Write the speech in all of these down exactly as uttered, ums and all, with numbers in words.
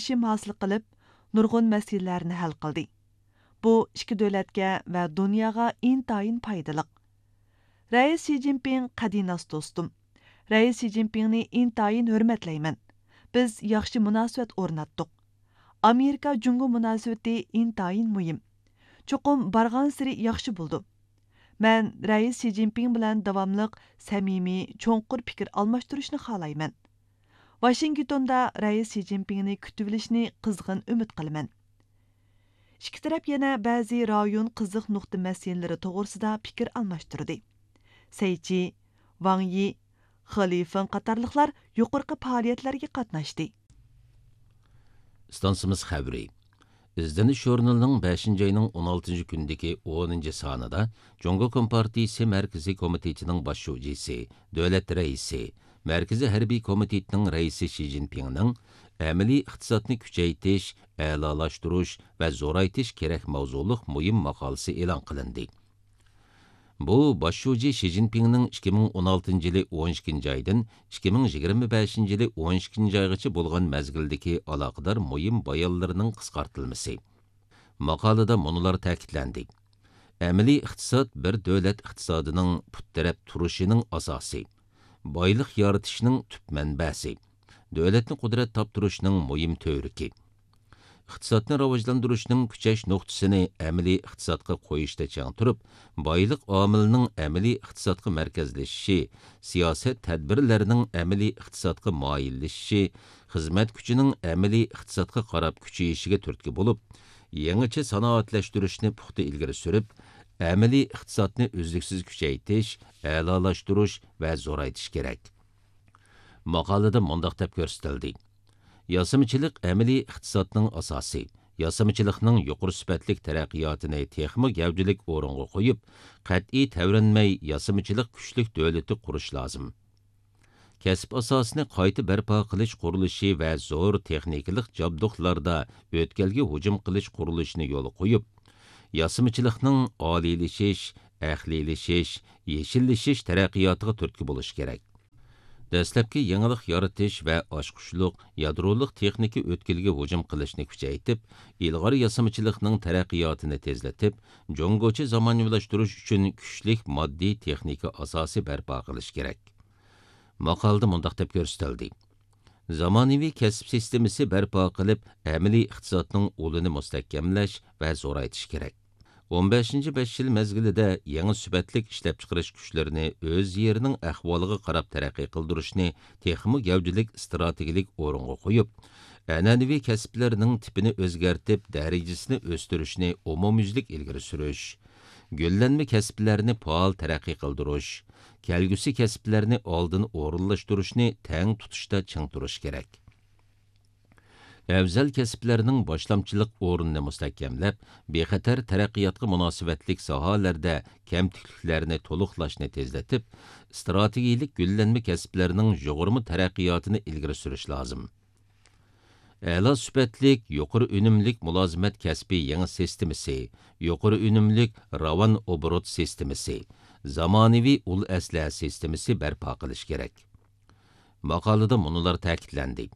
كېلىشىم ھاسىل قىلىپ، نۇرغۇن مەسىلىلەرنى ھەل قىلدى. بۇ ئىككى دۆلەتكە ۋە دۇنياغا ئىنتايىن پايدىلىق. رەئىس شى جىنپىڭ قەدىناس دوستۇم. رەئىس شى جىنپىڭنى ئىنتايىن ھۆرمەتلەيمەن. بىز ياخشى مۇناسىۋەت ئورناتتۇق. ئامېرىكا جۇڭگو مۇناسىۋىتى ئىنتايىن مۇھىم. چوقۇم بارغانسېرى ياخشى بولىدۇ. مەن رەئىس شى جىنپىڭ بىلەن داۋاملىق سەمىمىي، چوڭقۇر پىكىر ئالماشتۇرۇشنى خالايمەن. ۋاشىنگتوندا رەئىس شى جىنپىڭنى كۈتۈۋېلىشنى قىزغىن ئۈمىد قىلىمەن. ئىككى تەرەپ يەنە بەزى رايون قىزىق نۇقتا مەسىلىلىرى توغرىسىدا پىكىر ئالماشتۇردى. سەيچى، ۋاڭ يى، خې لىفېڭ قاتارلىقلار يۇقىرىقى پائالىيەتلەرگە قاتناشتى. ئىستانسىمىز خەۋىرى. ئىزدىنىش ژۇرنىلىنىڭ بەشىنچى ئاينىڭ ئون ئالتىنچى كۈنىدىكى ئونىنچى سانىدا جۇڭگو كومپارتىيىسى مەركىزىي كومىتېتىنىڭ باش شۇجىسى، دۆلەت رەئىسى، مەركىزىي ھەربىي كومىتېتنىڭ رەئىسى شى جىنپىڭنىڭ ئەمەلىي ئىقتىسادنى كۈچەيتىش، ئەلالاشتۇرۇش ۋە زورايتىش كېرەك ماۋزۇلۇق مۇھىم ماقالىسى ئېلان قىلىندى. بۇ باش شۇجى شى جىنپىڭنىڭ ئىككى مىڭ ئون ئالتىنچى يىلى ئون ئىككىنچى ئايدىن ئىككى مىڭ يىگىرمە بەشىنچى يىلى ئون ئىككىنچى ئايغىچە بولغان مەزگىلدىكى ئالاقىدار مۇھىم بايانلىرىنىڭ قىسقارتىلمىسى. ماقالىدە مۇنۇلار تەكىتلەندى: ئەمەلىي ئىقتىساد بىر دۆلەت ئىقتىسادىنىڭ پۇت تىرەپ تۇرۇشىنىڭ ئاساسى، بايلىق يارىتىشنىڭ تۈپ مەنبەسى، دۆلەتنى قۇدرەت تاپتۇرۇشنىڭ مۇھىم تۈۋرۈكى. ئىقتىسادنى راۋاجلاندۇرۇشنىڭ كۈچەش نۇقتىسىنى ئەمەلىي ئىقتىسادقا قويۇشتا چىڭ تۇرۇپ، بايلىق ئامىلىنىڭ ئەمەلىي ئىقتىسادقا مەركەزلىشىشى، سىياسەت تەدبىرلەرنىڭ ئەمەلىي ئىقتىسادقا مايىللىشىشى، خىزمەت كۈچىنىڭ ئەمەلىي ئىقتىسادقا قاراپ كۈچىيىشىگە تۈرتكە بولۇپ، يېڭىچە سانائەتلەشتۈرۈشنى پۇختا ئىلگىرى سۈرۈپ، ئەمەلىي ئىقتىسادنى ئۈزلۈكسىز كۈچەيتىش، ئەلالاشتۇرۇش ۋە زورايتىش كېرەك. ماقالىدە مۇنداق دەپ كۆرسىتىلدى: ياسىمىچىلىق ئەمەلىي ئىقتىسادنىڭ ئاساسى. ياسىمىچىلىقنىڭ يۇقىرى سۈپەتلىك تەرەققىياتىنى تېخىمۇ گەۋدىلىك ئورۇنغا قويۇپ، قەتئىي تەۋرەنمەي ياسىمىچىلىق كۈچلۈك دۆلىتى قۇرۇش لازىم. كەسىپ ئاساسىنى قايتا بەرپا قىلىش قۇرۇلۇشى ۋە زور تېخنىكىلىق جابدۇقلاردا ئۆتكەلگە ھۇجۇم قىلىش قۇرۇلۇشىنى يولغا قويۇپ، ياسىمىچىلىقنىڭ ئالىيلىشىش، ئەقلىيلىشىش، يېشىللىشىش تەرەققىياتىغا تۈرتكە بولۇش كېرەك. دەسلەپكى يېڭىلىق يارىتىش ۋە ئاچقۇچلۇق يادرولۇق تېخنىكا ئۆتكىلىگە ھۇجۇم قىلىشنى كۈچەيتىپ، ئىلغار ياسىمىچىلىقنىڭ تەرەققىياتىنى تېزلىتىپ، جۇڭگوچە زامانىۋىلاشتۇرۇش ئۈچۈن كۈچلۈك ماددىي تېخنىكا ئاساسى بەرپا قىلىش كېرەك. ماقالىدە مۇنداق دەپ كۆرسىتىلدى: زامانىۋى كەسىپ سىستېمىسى بەرپا قىلىپ، ئەمەلىي ئىقتىسادنىڭ ئۇلىنى مۇستەھكەملەش ۋە زورايتىش كېرەك. ئون بەشىنچى بەش يىل مەزگىلىدە يېڭى سۈپەتلىك ئىشلەپچىقىرىش كۈچلىرىنى ئۆز يېرىنىڭ ئەھۋالىغا قاراپ تەرەققىي قىلدۇرۇشنى تېخىمۇ گەۋدىلىك ئىستراتېگىيەلىك ئورۇنغا قويۇپ، ئەنئەنىۋى كەسىپلەرنىڭ تىپىنى ئۆزگەرتىپ، دەرىجىسىنى ئۆستۈرۈشنى ئومۇميۈزلۈك ئىلگىرى سۈرۈش، گۈللەنمە كەسىپلەرنى پائال تەرەققىي قىلدۇرۇش، كەلگۈسى كەسىپلەرنى ئالدىن ئورۇنلاشتۇرۇشنى تەڭ تۇتۇشتا چىڭ تۇرۇش كېرەك. ئەۋزەل كەسىپلەرنىڭ باشلامچىلىق ئورنىنى مۇستەھكەملەپ، بىخەتەر تەرەققىياتقا مۇناسىۋەتلىك ساھەلەردە كەمتۈكلۈكلەرنى تولۇقلاشنى تېزلىتىپ، ئىستراتېگىيەلىك گۈللەنمە كەسىپلەرنىڭ يۇغۇرما تەرەققىياتىنى ئىلگىرى سۈرۈش لازىم. ئەلا سۈپەتلىك، يۇقىرى ئۈنۈملۈك مۇلازىمەت كەسپى يېڭى سىستېمىسى، يۇقىرى ئۈنۈملۈك راۋان ئوبوروت سىستېمىسى، زامانىۋى ئۇل ئەسلىھە سىستېمىسى بەرپا قىلىش كېرەك. ماقالىدە مۇنۇلار تەكىتلەندى: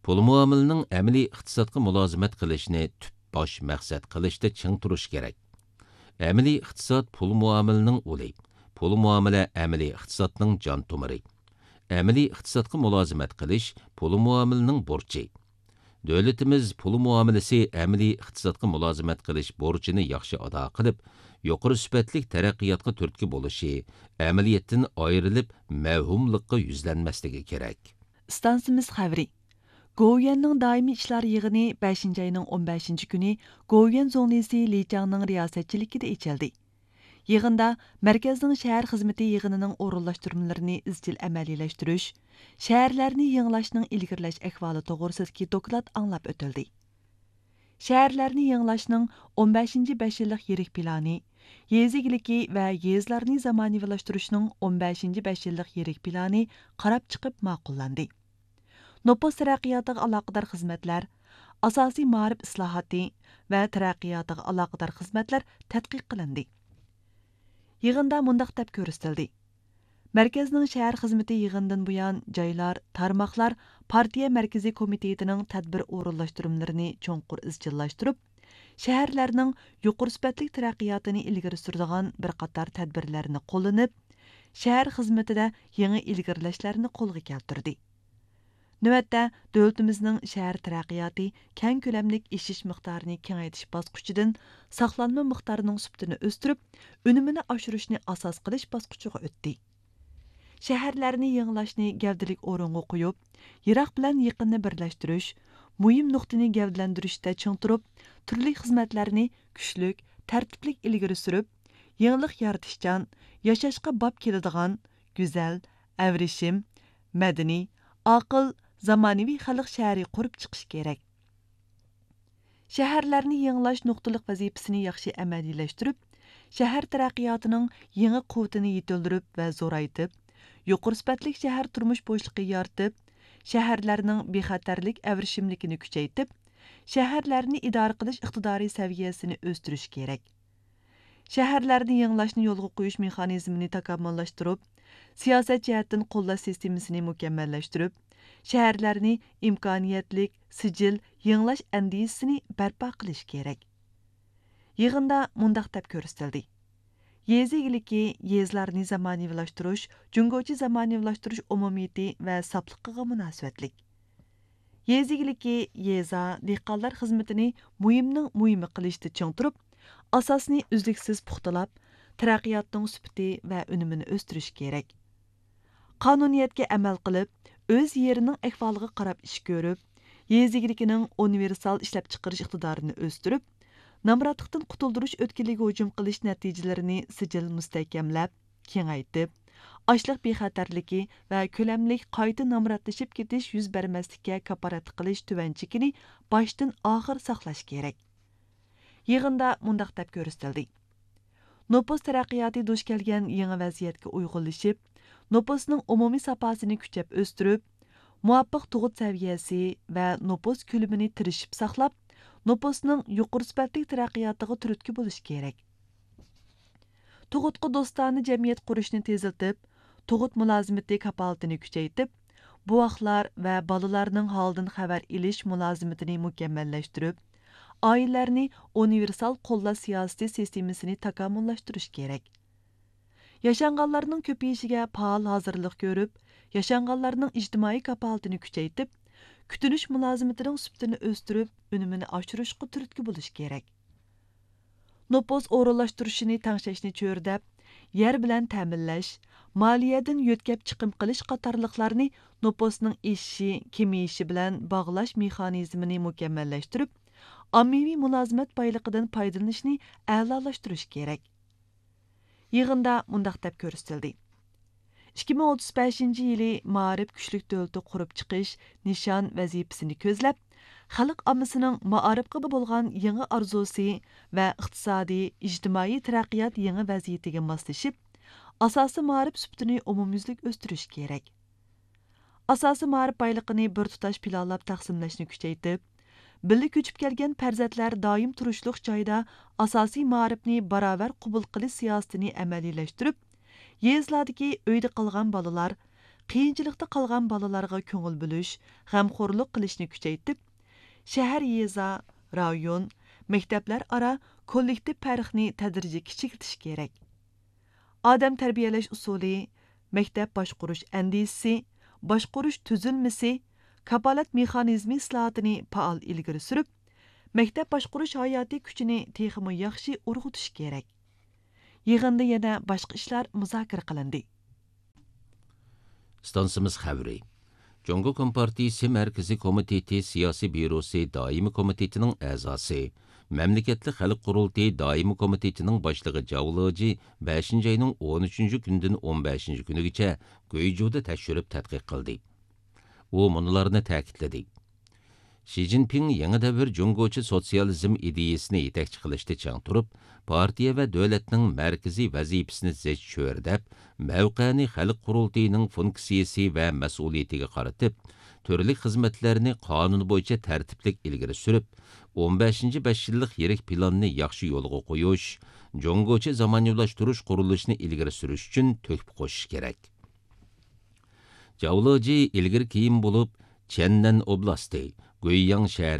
پۇل مۇئامىلىنىڭ ئەمەلىي ئىقتىسادقا مۇلازىمەت قىلىشنى تۈپ باش مەقسەت قىلىشتا چىڭ تۇرۇش كېرەك. ئەمەلىي ئىقتىساد پۇل مۇئامىلىنىڭ ئۇلى. پۇل مۇئامىلە ئەمەلىي ئىقتىسادنىڭ جان تومۇرى. ئەمەلىي ئىقتىسادقا مۇلازىمەت قىلىش پۇل مۇئامىلىنىڭ بۇرچى. دۆلىتىمىز پۇل مۇئامىلىسى ئەمەلىي ئىقتىسادقا مۇلازىمەت قىلىش بۇرچىنى ياخشى ئادا قىلىپ، يۇقىرى سۈپەتلىك تەرەققىياتقا تۈرتكە بولۇشى، ئەمەلىيەتتىن ئايرىلىپ، مەۋھۇملۇققا يۈزلەنمەسلىكى كېرەك. ئىستانسىمىز خەۋىرى. گوۋۇيۈەننىڭ دائىمىي ئىشلار يىغىنى بەشىنچى ئاينىڭ ئون بەشىنچى كۈنى گوۋۇيۈەن زۇڭلىسى لى چاڭنىڭ رىياسەتچىلىكىدە ئېچىلدى. يىغىندا مەركەزنىڭ شەھەر خىزمىتى يىغىنىنىڭ ئورۇنلاشتۇرمىلىرىنى ئىزچىل ئەمەلىيلەشتۈرۈش، شەھەرلەرنى يېڭىلاش ئىلگىرىلەش ئەھۋالى توغرىسىدىكى دوكلات ئاڭلاپ ئۆتۈلدى. شەھەرلەرنى يېڭىلاشنىڭ ئون بەشىنچى بەش يىللىق يىرىك پىلانى، يېزا ئىگىلىكى ۋە يېزىلارنى زامانىۋىلاشتۇرۇشنىڭ ئون بەشىنچى بەش يىللىق يىرىك پىلانى قاراپ چىقىپ ماقۇللاندى. نوپۇس تەرەققىياتىغا ئالاقىدار خىزمەتلەر، ئاساسىي مائارىپ ئىسلاھاتى ۋە تەرەققىياتىغا ئالاقىدار خىزمەتلەر تەتقىق قىلىندى. يىغىندا مۇنداق دەپ كۆرسىتىلدى: مەركەزنىڭ شەھەر خىزمىتى يىغىنىدىن بۇيان، جايلار، تارماقلار پارتىيە مەركىزىي كومىتېتىنىڭ تەدبىر ئورۇنلاشتۇرمىلىرىنى چوڭقۇر ئىزچىللاشتۇرۇپ، شەھەرلەرنىڭ يۇقىرى سۈپەتلىك تەرەققىياتىنى ئىلگىرى سۈرىدىغان بىر قاتار تەدبىرلەرنى قوللىنىپ، شەھەر خىزمىتىدە يېڭى ئىلگىرىلەشلەرنى قولغا كەلتۈردى. نۆۋەتتە، دۆلىتىمىزنىڭ شەھەر تەرەققىياتى كەڭ كۆلەملىك ئېشىش مىقدارىنى كېڭەيتىش باسقۇچىدىن ساقلانما مىقدارىنىڭ سۈپىتىنى ئۆستۈرۈپ، ئۈنۈمىنى ئاشۇرۇشنى ئاساس قىلىش باسقۇچىغا ئۆتتى. شەھەرلەرنى يېڭىلاشنى گەۋدىلىك ئورۇنغا قويۇپ، يىراق بىلەن يېقىننى بىرلەشتۈرۈش، مۇھىم نۇقتىنى گەۋدىلەندۈرۈشتە چىڭ تۇرۇپ، تۈرلۈك خىزمەتلەرنى كۈچلۈك، تەرتىپلىك ئىلگىرى سۈرۈپ، يېڭىلىق يارىتىشچان، ياشاشقا باب كېلىدىغان، گۈزەل، ئەۋرىشىم، مەدەنىي، ئاقىل، زامانىۋى خەلق شەھىرى قۇرۇپ چىقىش كېرەك. شەھەرلەرنى يېڭىلاش نۇقتىلىق ۋەزىپىسىنى ياخشى ئەمەلىيلەشتۈرۈپ، شەھەر تەرەققىياتىنىڭ يېڭى قۇۋۋىتىنى يېتىلدۈرۈپ ۋە زورايتىپ، يۇقىرى سۈپەتلىك شەھەر تۇرمۇش بوشلۇقى يارىتىپ، شەھەرلەرنىڭ بىخەتەرلىك ئەۋرىشىملىكىنى كۈچەيتىپ، شەھەرلەرنى ئىدارە قىلىش ئىقتىدارى سەۋىيەسىنى ئۆستۈرۈش كېرەك. شەھەرلەرنى يېڭىلاشنى يولغا قويۇش مېخانىزمىنى تاكامۇللاشتۇرۇپ، سىياسەت جەھەتتىن قوللاش سىستېمىسىنى مۇكەممەللەشتۈرۈپ، شەھەرلەرنى ئىمكانىيەتلىك، سىجىل يېڭىلاش ئەندىزىسىنى بەرپا قىلىش كېرەك. يىغىندا مۇنداق دەپ كۆرسىتىلدى: يېزا ئىگىلىكى، يېزىلارنى زامانىۋىلاشتۇرۇش جۇڭگوچە زامانىۋىلاشتۇرۇش ئومۇمىيىتى ۋە ساپلىقىغا مۇناسىۋەتلىك. يېزا ئىگىلىكى، يېزا، دېھقانلار خىزمىتىنى مۇھىمنىڭ مۇھىمى قىلىشتا چىڭ تۇرۇپ، ئاساسنى ئۈزلۈكسىز پۇختىلاپ، تەرەققىياتنىڭ سۈپىتى ۋە ئۈنۈمىنى ئۆستۈرۈش كېرەك. قانۇنىيەتكە ئەمەل قىلىپ، ئۆز يېرىنىڭ ئەھۋالىغا قاراپ ئىش كۆرۈپ، يېزا ئىگىلىكىنىڭ ئۇنىۋېرسال ئىشلەپچىقىرىش ئىقتىدارىنى ئۆستۈرۈپ، نامراتلىقتىن قۇتۇلدۇرۇش ئۆتكىلىگە ھۇجۇم قىلىش نەتىجىلىرىنى سىجىل مۇستەھكەملەپ، كېڭەيتىپ، ئاشلىق بىخەتەرلىكى ۋە كۆلەملىك قايتا نامراتلىشىپ كېتىش يۈز بەرمەسلىككە كاپالەتلىك قىلىش تۆۋەن چېكىنى باشتىن ئاخىر ساقلاش كېرەك. يىغىندا مۇنداق دەپ كۆرسىتىلدى: نوپۇس تەرەققىياتى دۇچ كەلگەن يېڭى ۋەزىيەتكە ئۇيغۇنلىشىپ، نوپۇسنىڭ ئومۇمىي ساپاسىنى كۈچەپ ئۆستۈرۈپ، مۇۋاپىق تۇغۇت سەۋىيەسى ۋە نوپۇس كۆلىمىنى تىرىشىپ ساقلاپ، نوپۇسنىڭ يۇقىرى سۈپەتلىك تەرەققىياتىغا تۈرتكە بولۇش كېرەك. تۇغۇتقا دوستانە جەمئىيەت قۇرۇشنى تېزلىتىپ، تۇغۇت مۇلازىمىتى كاپالىتىنى كۈچەيتىپ، بوۋاقلار ۋە بالىلارنىڭ ھالىدىن خەۋەر ئېلىش مۇلازىمىتىنى مۇكەممەللەشتۈرۈپ، ئائىلىلەرنى ئۇنىۋېرسال قوللاش سىياسىتى سىستېمىسىنى تاكامۇللاشتۇرۇش كېرەك. ياشانغانلارنىڭ كۆپىيىشىگە پائال ھازىرلىق كۆرۈپ، ياشانغانلارنىڭ ئىجتىمائىي كاپالىتىنى كۈچەيتىپ، كۈتۈنۈش مۇلازىمىتىنىڭ سۈپىتىنى ئۆستۈرۈپ، ئۈنۈمىنى ئاشۇرۇشقا تۈرتكە بولۇش كېرەك. نوپۇس ئورۇنلاشتۇرۇشىنى تەڭشەشنى چۆرىدەپ، يەر بىلەن تەمىنلەش، مالىيەدىن يۆتكەپ چىقىم قىلىش قاتارلىقلارنى نوپۇسنىڭ ئېشىشى، كېمىيىشى بىلەن باغلاش مېخانىزمىنى مۇكەممەللەشتۈرۈپ، ئاممىۋى مۇلازىمەت بايلىقىدىن پايدىلىنىشنى ئەلالاشتۇرۇش كېرەك. يىغىندا مۇنداق دەپ كۆرسىتىلدى: ئىككى مىڭ ئوتتۇز بەشىنچى يىلى مائارىپ كۈچلۈك دۆلىتى قۇرۇپ چىقىش نىشان ۋەزىپىسىنى كۆزلەپ، خەلق ئاممىسىنىڭ مائارىپقا بولغان يېڭى ئارزۇسى ۋە ئىقتىسادىي، ئىجتىمائىي تەرەققىيات يېڭى ۋەزىيىتىگە ماسلىشىپ، ئاساسىي مائارىپ سۈپىتىنى ئومۇميۈزلۈك ئۆستۈرۈش كېرەك. ئاساسىي مائارىپ بايلىقىنى بىر تۇتاش پىلانلاپ تەقسىملەشنى كۈچەيتىپ، بىللە كۆچۈپ كەلگەن پەرزەنتلەر دائىم تۇرۇشلۇق جايدا ئاساسىي مائارىپنى باراۋەر قوبۇل قىلىش سىياسىتىنى ئەمەلىيلەشتۈرۈپ، يېزىلاردىكى ئۆيدە قالغان بالىلار، قىيىنچىلىقتا قالغان بالىلارغا كۆڭۈل بۆلۈش، غەمخورلۇق قىلىشنى كۈچەيتىپ، شەھەر، يېزا، رايون، مەكتەپلەر ئارا كوللېكتىپ پەرقنى تەدرىجىي كىچىكلىتىش كېرەك. ئادەم تەربىيەلەش ئۇسۇلى، مەكتەپ باشقۇرۇش ئەندىزىسى، باشقۇرۇش تۈزۈلمىسى، كاپالەت مېخانىزمى ئىسلاھاتىنى پائال ئىلگىرى سۈرۈپ، مەكتەپ باشقۇرۇش ھاياتىي كۈچىنى تېخىمۇ ياخشى ئۇرغۇتۇش كېرەك. يىغىندا يەنە باشقا ئىشلار مۇزاكىرە قىلىندى. ئىستانسىمىز خەۋىرى. جۇڭگو كومپارتىيىسى مەركىزىي كومىتېتى سىياسىي بيۇروسى دائىمىي كومىتېتىنىڭ ئەزاسى، مەملىكەتلىك خەلق قۇرۇلتىيى دائىمىي كومىتېتىنىڭ باشلىقى جاۋ لېجى بەشىنچى ئاينىڭ ئون ئۈچىنچى كۈنىدىن ئون بەشىنچى كۈنىگىچە گۇيجۇدا تەكشۈرۈپ تەتقىق قىلدى. ئۇ مۇنۇلارنى تەكىتلىدى: شى جىنپىڭ يېڭى دەۋر جۇڭگوچە سوتسىيالىزم ئىدىيىسىنى يېتەكچى قىلىشتا چىڭ تۇرۇپ، پارتىيە ۋە دۆلەتنىڭ مەركىزىي ۋەزىپىسىنى زىچ چۆرىدەپ، مەۋقەنى خەلق قۇرۇلتىيىنىڭ فۇنكسىيىسى ۋە مەسئۇلىيىتىگە قارىتىپ، تۈرلۈك خىزمەتلەرنى قانۇن بويىچە تەرتىپلىك ئىلگىرى سۈرۈپ، ئون بەشىنچى بەش يىللىق يىرىك پىلاننى ياخشى يولغا قويۇش، جۇڭگوچە زامانىۋىلاشتۇرۇش قۇرۇلۇشىنى ئىلگىرى سۈرۈش ئۈچۈن تۆھپە قوشۇش كېرەك. جاۋلېجى ئىلگىرى كېيىن بولۇپ، چيەننەن ئوبلاستى، گۇيياڭ شەھىرى